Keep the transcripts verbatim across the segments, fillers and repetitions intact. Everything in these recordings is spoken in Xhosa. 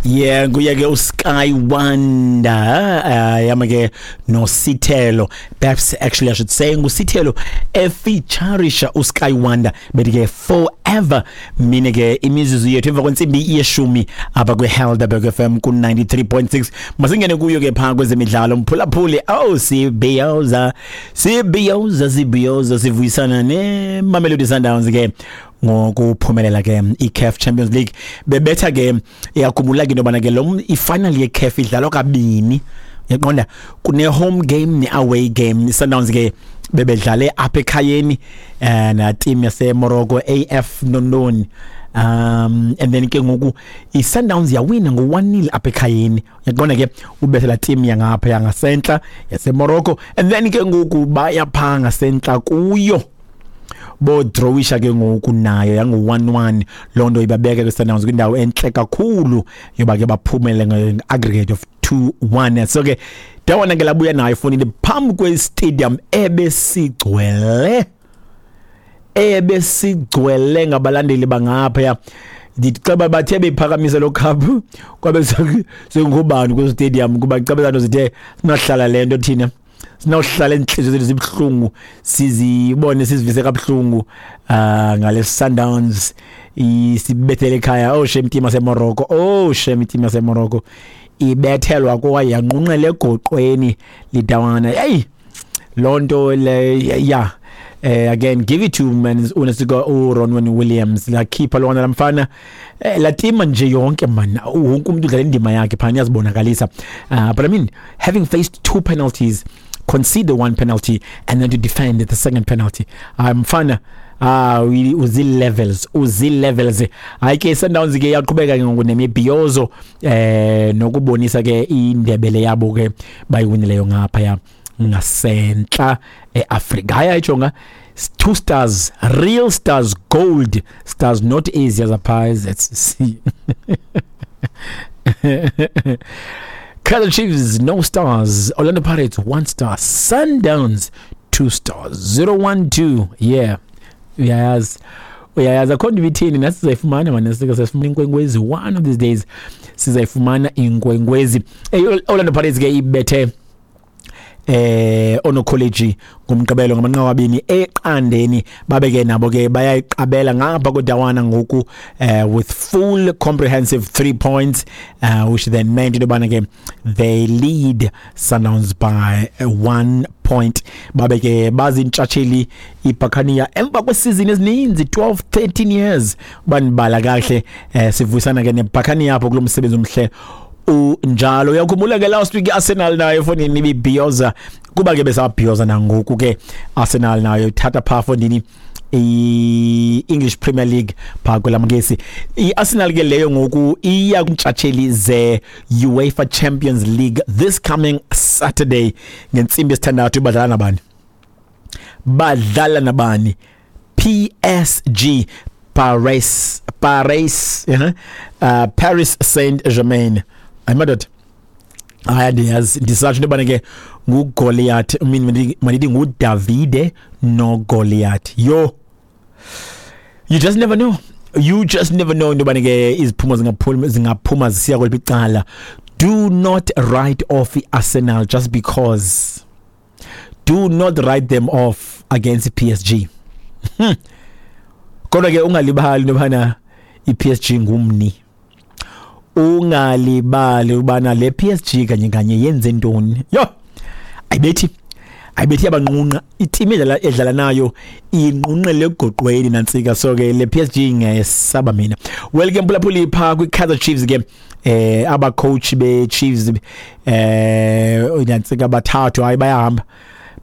Yeah, nguye ke uSky Wonder, uh, yama ke noSithelo. Perhaps actually I should say nguSithelo efeaturisha uSky Wonder, bethi ke "Forever". Mine ke imizuzu yethu emva kwentsimbi yeshumi apha kwiHelderberg F M ku ninety-three point six. Masingene kuyo ke phaa kwezemidlalo, mphulaphuli. Oh, sibhiyoza, sibhiyoza, sibhiyoza, sivuyisana neMamelodi Sundowns ke ngokuphumelela ke i-CAF Champions League. Bebetha ke. Iyakhumbula ke into yobana ke lo ifinal ye-CAF idlalwa kabini, uyaqonda, kune home game ne-away game. I-Sundowns ke bebedlale apha ekhayeni eh na team yase Morocco, A F Nondoni, um and then ke ngoku i-Sundowns yawina ngo one nil apha ekhayeni, uyaqonda ke, ubethe la team yangapha yangasentla yase Morocco, and then ke ngoku baya phaa ngasentla kuyo, bodrawisha ke ngoku nayo yangu one one. Loo nto ibabeka ke Sundowns kwindawo entle kakhulu yoba ke baphumele nge-aggregate of two one. So ke dawana ke labuya nayo fonini phambi kwe-stadium ebesigcwele ebesigcwele ngabalandeli bangaphaya. Ndithi xa bathe bephakamisa lo cup, kwabe sengubani kwi stadium, kuba xa zithe sinahlala le nto thina sinawuhlala inhliziyo zethu zibuhlungu, sizibone sizivise kabuhlungu uh ngale Sundowns isibethele ekhaya. Oh shame, team yaseMorocco, oh shame, team yaseMorocco ibethelwa kwaye yanqunqela egoqweni lidawana. Hey, lonto le ya eh again, give it to man unesiko uRonwen Williams, la keeper lona lamfana, eh, la team nje yonke man, wonke umuntu udlala indima yakhe phana, yazibonakalisa. uh, but I mean, having faced two penalties, concede one penalty and then to defend the second penalty, mfana, ah uzi levels, uzi levels. Hayi ke, Sundowns ke yaqhubeka ke ngoku nemibhiyozo eh nokubonisa ke indebele yabo ke bayiwinileyo ngapha ya ngasentla eAfrika. Hayi, ayijonga, two stars, real stars, gold stars, not easy as a pies. Let's see. Kaizer Chiefs, no stars. Orlando Pirates, one star. Sundowns, two stars. zero one two. Yeah, uyayazi, uyayazi, akho nto ibithini. Nathi sizayifumana mani, sike sifumana inkwenkwezi. One of these days sizayifumana inkwenkwezi. Hey, Orlando Pirates ke ibethe eh onokholeji ngomgqibelo ngamanqaku abini eqandeni. Babe ke nabo ke bayayiqabela ngapha kodawana ngoku eh with full comprehensive three points, uh, which then meant into yobana ke they lead Sundowns by one point. Babe ke bazintshatsheli iBuccaneer emva kwesizini ezininzi, twelve thirteen years banibala kahle. eh sivuyisana ke neBuccaneer apho kulo msebenzi omhle unjalo. Uyakhumbula ke last week Arsenal nayo fonini ibibhiyoza, kuba ke besabhiyoza nangoku ke Arsenal nayo ithatha pha fondini i-English Premier League pha kwelamangesi. I-Arsenal ke leyo ngoku iya kumtshatsheli ze UEFA Champions League this coming Saturday ngentsimbi yesithandathu. Badlala nabani? Badlala nabani? P S G, Paris Paris uh -huh. uh, Paris Saint-Germain. Hayi madoda, hayi, andiyazi, ndisatsho into yobana ke nguGoliath, I mean, mandithi nguDavide noGoliath. Yo, you just never know, you just never know into yobana ke iziphumo zingaphuma zingaphuma zisiya kweliphi icala. Do not write off i-Arsenal just because. Do not write them off against i-P S G. hmm. kodwa ke ungalibali into yobana i-P S G ngumni, ungalibali ubana le P S G kanye kanye yenze ntoni. Yo, ayibethi, ayibethi, yabanqunqa iteam edlala edlala nayo, inqunqele egoqweni nantsika. So ke le P S G ngiyesaba mina. Well ke mphulaphuli, pha kwi-Kaizer Chiefs ke, eh aba coach be Chiefs eh nantsika bathathu, hayi, bayahamba,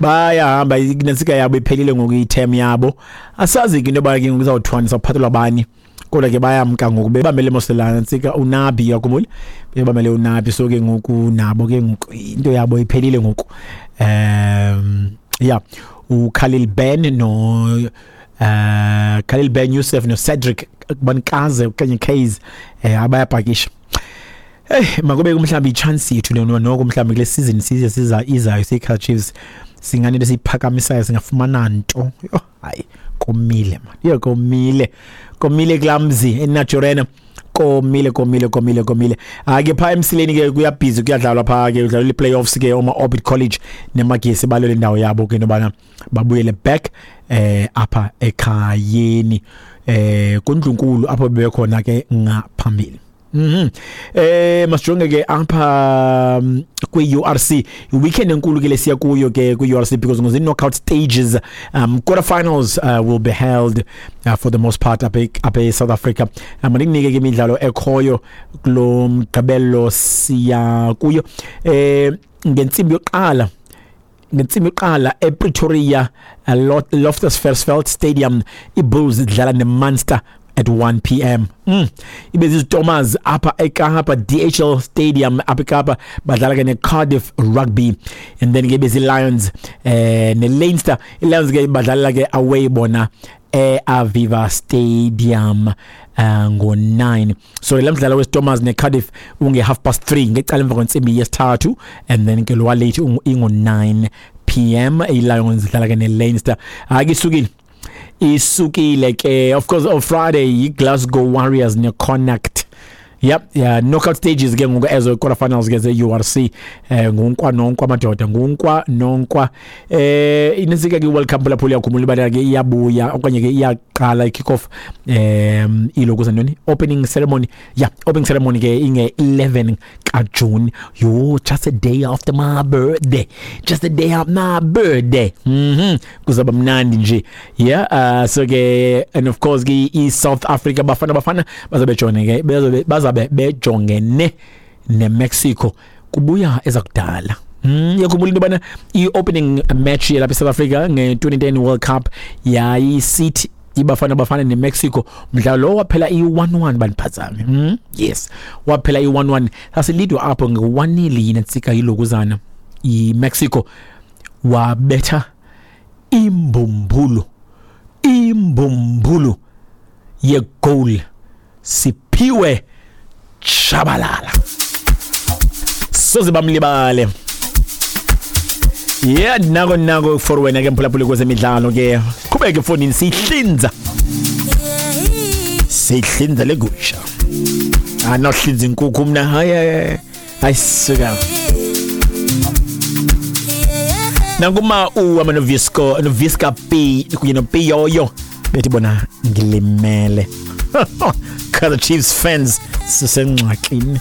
bayahamba. Nantsika yabo iphelile ngoku, iterm yabo. Asazi ke into yoba ke kuzawuthiwani, sawuphathelwa bani, kodwa ke bayamka ngoku. Bebamele moselana nantsika uNabi, yakhumbula, bebamele uNabi. So ke ngoku nabo ke ngoku into yabo iphelile ngoku. um yeah uKhalil Ben no uh Khalil Ben Youssef no Cedric Bankaze okanye Kaze eh abayapakisha. Hey, makube mhlawumbe i-chance yethu noko mhlawumbe kule season size siza izayo siyi-Kaizer Chiefs singanento esiyiphakamisayo, singafumana nto. Yho, hayi, komile man, yo, komile, komile kulamzi eNaturena. Komile, komile, komile, komile. Ke phaa emsileni ke kuyabhizi, kuyadlalwa phaa ke, kudlalwa i-playoffs ke, oma Orbit College neMagesi balwele indawo yabo ke nobana babuyele back eh apha ekhayeni eh kundlunkulu apho bebekhona ke ngaphambili. Mhm. Eh masijonge ke apha kwi U R C, weekend enkulu ke lesiya kuyo ke kwi U R C because ngozi knockout stages, um quarterfinals uh, will be held uh, for the most part apha apha South Africa. Mandinike ke imidlalo ekhoyo kulo mgqibelo siya kuyo. Eh ngentsimbi yokuqala ngentsimbi yokuqala ePretoria, Loftus Versfeld Stadium, iBulls idlala neMunster at one p m. Mm. Ibe ziziTomas apha eKapa, D H L Stadium apha eKapa, badlala ke neCardiff Rugby, and then ke bezi Lions eh neLeinster. iLions ke badlala ke away bona eAviva Stadium uh, ngo nine. So le mdlalo weStormers neCardiff unge half past three ngecala emva kwentsimbi yesithathu, and then ke lo late ingo nine p m iLions idlala ke neLeinster. Akisukile isukile ke, of course on Friday iGlasgow Warriors neConnect. Yep, yeah, knockout stages ke ngoku ezo quarterfinals ke ze U R C, eh ngunkwa nonkwa madoda, ngunkwa nonkwa. Eh inesika ke World Cup lapho liyakhumula ibala ke iyabuya okanye ke iyaqala i-kick off eh ilokuza ntoni opening ceremony. Yeah, opening ceremony ke inge eleven ka June. Yo, just a day after my birthday. Just a day after my birthday. Mhm. Kuzaba mnandi nje. Yeah, uh, so ke and of course ke i South Africa bafana bafana bazabe jone ke bazabe bazabe bejongene neMexico kubuya ezakudala. Mm, yakhumbula into bana i-opening match yalapha eSouth Africa nge twenty ten World Cup yayisithi ibafana bafana neMexico, mdlalo waphela i one one baniphazame. Mm, yes, waphela i one one. Sasilidwa apho nge one nil yintsika yilokuzana iMexico wabetha imbumbulu imbumbulu ye goal Siphiwe Tshabalala. Soze bamlibale. Yeah, nako nako for wena ke mphulaphuli kwezemidlalo ke. Qhubeke mfondini, sihlinza. Sihlinza legusha. Anohlinza inkukhu mina. Hayi hayi suka. Nanguma u amanovisco novisca P kunye no Piyoyo bethi bona ngilimele. Kaizer Chiefs fans sisengxakini.